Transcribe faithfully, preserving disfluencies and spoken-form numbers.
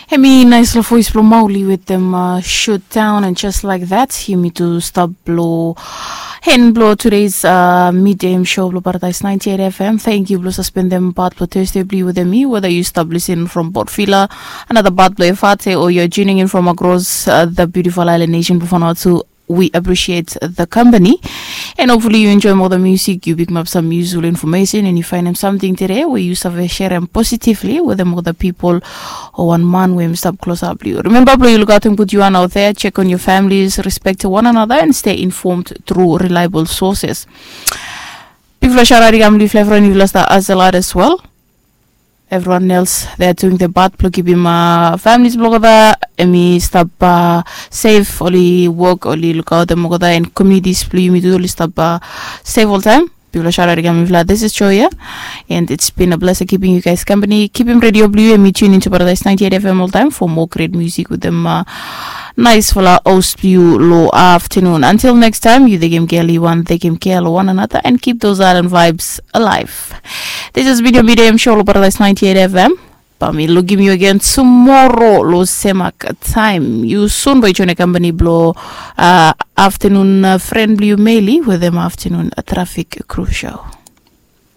Hemi naispela voes blong mauli wetem shut down and just like that yumi tu stap blong hen blong today's midem show blong paradise ninety-eight F M. Thank you blong suspendem part blong Thursday blong wetem mi, whether you stop listen from Port Vila, another part blong Efate, or you're tuning in from across the beautiful island nation blong Vanuatu. We appreciate the company. And hopefully you enjoy more the music, you pick up some useful information, and you find them something today where you save share them positively with them other people or one man where stop close up you. Remember, bro, you look out and put you one out there, check on your families, respect one another, and stay informed through reliable sources. Big flash out, I'm Lee Flavor, and you lost that as a lot as well. Everyone else, they are doing the part blong kipim families blong olgeta, em i stap safe, oli wok, oli lukaotem olgeta, and communities blong yumi tu oli stap safe oltaem. Big flash out, I'm Lee Flavor, this is Joya, and it's been a pleasure keeping you guys company. Kipim radio blong yu, em i tune into Paradise ninety-eight F M oltaem for more great music with them. Naispela host blong yu long afternoon. Until next time, yu tekem kea long wan, tekem kea long one another, and keep those island vibes alive. This has been your midem show long Paradise ninety-eight F M. Bae mi lukim yu again tomorrow long semak taem. Yu sun bae yu join company blong afternoon friend blong yu Meli wetem afternoon traffic crew show.